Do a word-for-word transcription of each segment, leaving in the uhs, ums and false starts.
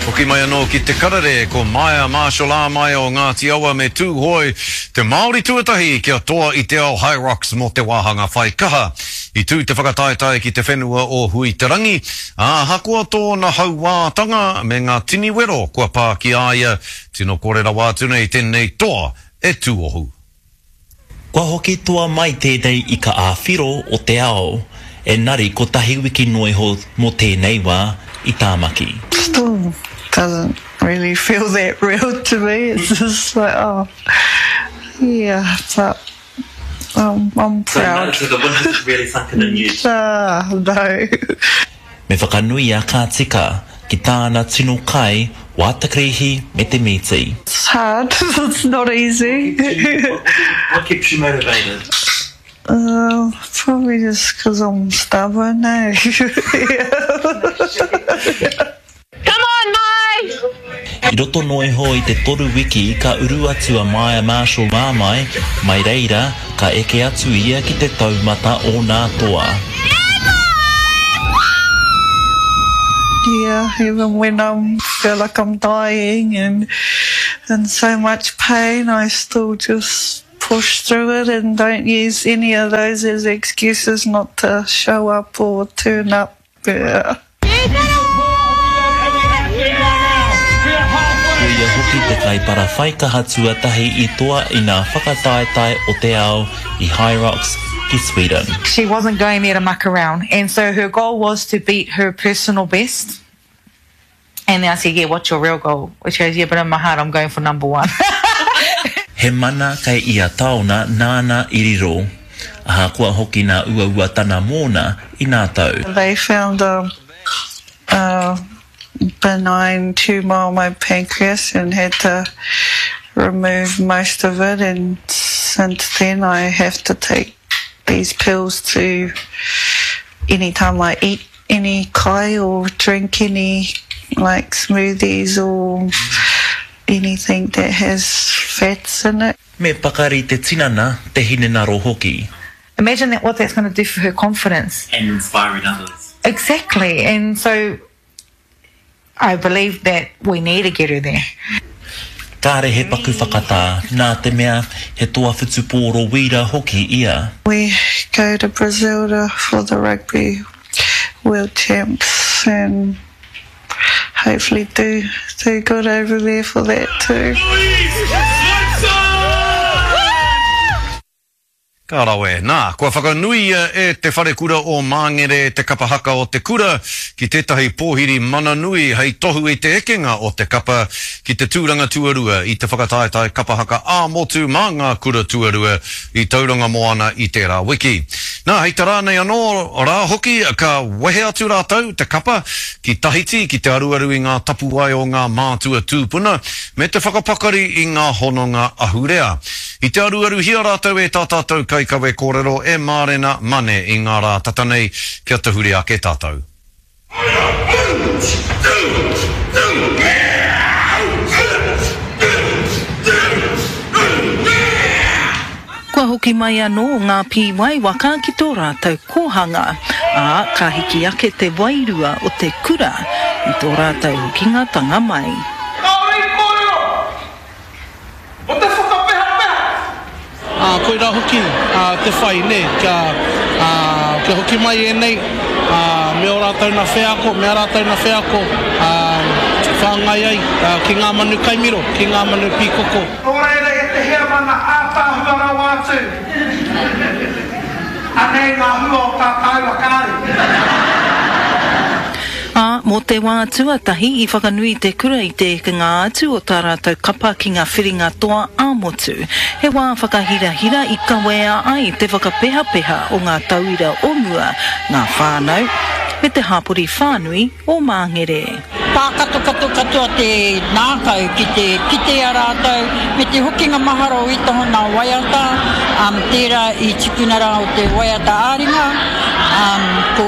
Hoki mai anō ki te karere, ko Maia Marshall Āmaia o Ngāti Awa me Tūhoe, te Māori tuatahi kia toa i te ao Hyrox mō te wāhanga whai kaha. I tū te whakataetae ki te whenua o Huiterangi, ā, ahakoa tōna hauātanga me ngā tini wero kua pā ki a ia, tino kore rawa atu nei tēnei toa e tūohu. Kua hoki toa mai tēnei ika ā-whiro o te ao, engari kotahi wiki noa iho mō tēnei wā i Tāmaki. Still doesn't really feel that real to me. It's just like, oh, yeah, but um, I'm proud. So, the win hasn't really sunken in yet? Uh, no. Me whakanuia ka tika ki tāna tino kai, wātakarihi me te mīti. It's hard. It's not easy. What keeps you motivated? Uh, probably just because I'm stubborn, eh? Come on, Mai! I roto noa iho i te toru wiki ka uru atu a Maia Marshall Māmai, mai reira ka eke atu ia ki te taumata o nā toa. Yeah, even when I feel like I'm dying and in so much pain, I still just push through it and don't use any of those as excuses not to show up or turn up. Yeah. Ko ia hoki te kaipara whaikaha tuatahi i toa i ngā whakataetae o te ao i Hyrox ki Sweden. She wasn't going there to muck around, and so her goal was to beat her personal best. And then I said, yeah, what's your real goal? She goes, yeah, but in my heart I'm going for number one. He mana kei ia taona nāna i riro. Ahakoa hoki nā uauatana mōna i nā tau. They found a, a benign tumour on my pancreas and had to remove most of it, and since then I have to take these pills to any time I eat any kai or drink any like smoothies or anything that has fats in it. Me pakari te tinana, te hinengaro hoki. Imagine that what that's gonna do for her confidence. And inspiring others. Exactly, and so I believe that we need to get her there. Kāre he paku whakatā, nā te mea he toa whutupōro wīra hoki ia. We go to Brazil to, for the rugby world champs and hopefully do, do good over there for that too. Ka rawe. Nā, kua whakanuia e Te Wharekura o Māngere te kapa haka o te kura ki tētahi pōhiri mana nui hei tohu i te ekenga o te kapa ki te tūranga tuarua i te whakataetae kapa haka ā-motu mā ngā kura tuarua i Tauranga Moana i tērā wiki. Nā, hei te rā nei anō rā hoki ka wehe atu rātou te kapa ki Tahiti ki te aruaru i ngā tapuwae o ngā mātua tūpuna me te whakapakari i ngā hononga ahurea. I te aruaruhia rātou e tā tātou kaikawe kōrero e Mārena Mane i ngā rā tata nei kia tahuri ake tātou. Kua hoki mai anō ngā pīwai waka ki tō rātou kōhanga, ā, ka hiki ake te wairua o te kura i tō rātou hokingatanga mai. Kāore i kōrero mō te whakapehapeha. Ā, koirā hoki te whai, nē, kia, ā, kia hoki mai ēnei, ā, me ō rātou nā wheako, me ā rātou nā wheako, ā, whāngai ai, ā, ki ngā manu kaimiro, ki ngā manu pīkoko. Nō reira e te heamana ātaahua rawa atu, anei ngā hua o tā tāua kāri. Ā, mō te wā tuatahi i whakanui te kura i te ekenga atu o tā rātou kapa ki ngā whiringa toa ā-motu. He wā whakahirahira i kawea ai te whakapehapeha o ngā tauira o mua, ngā whānau, me te hapori whānui o Māngere. Pākatokato katoa te ngākau ki te kite i a rātou, me te hokinga mahara o ētahi o ngā waiata, um, tērā i tikuna rā o te waiata ā-ringa, um, ko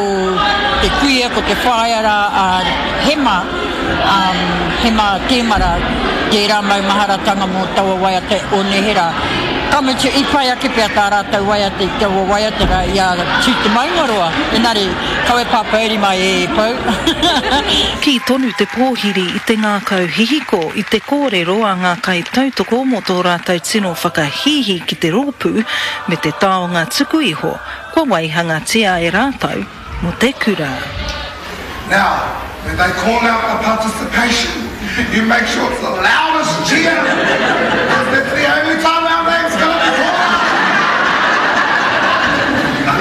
te kuia, ko te whaea rā a Hema, um, Hema Tēmara, tērā maumaharatanga mō taua waiata o neherā. Ka mutu, i pai ake pea tā rātou waiata i taua waiata rā i a Tū Te Maungaroa, engari kawe pāpōuri mai e Pou. Kī tonu te pōhiri i te ngākau hihiko i te kōrero a ngā kaitautoko mō tō rātou tino whakahīhī ki te rōpū me te taonga tuku iho kua waihangatia e rātou mō te kura. Now, when they call out the participation, you make sure it's the loudest cheer, because that's the only time our name's gonna be called out.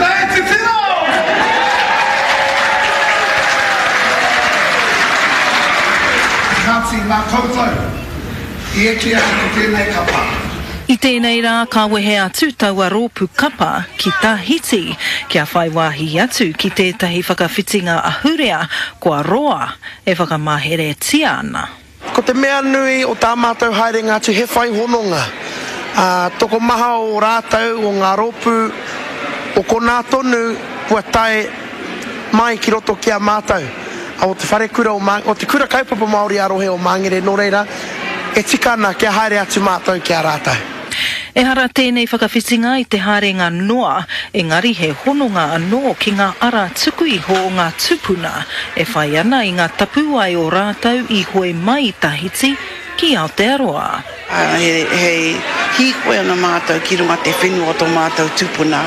Lei titiro! Kāti, nā koutou i eke ai ko tēnei kapa. I tēnei rā ka wehe atu taua rōpū kapa ki Tahiti kia whai wāhi atu ki tētahi whakawhitinga ahurea kua roa e whakamaheretia ana. Ko te mea nui o tā mātou haerenga atu he whai hononga. Ā, tokomaha o rātou o ngā rōpū o konā tonu kua tae mai ki roto ki a mātou o te wharekura o o te Kura Kaupapa Māori ā-Rohe o Māngere, nō reira, e tika ana kia haere atu mātou ki a rātou. Ehara tēnei whakawhitinga i te haerenga noa, engari he hononga anō ki ngā ara tuku iho o ngā tūpuna e whai ana i ngā tapuwae o rātou i hoe mai i Tahiti ki Aotearoa. He hīkoi ana mātou ki runga te whenua o tō mātou tupuna.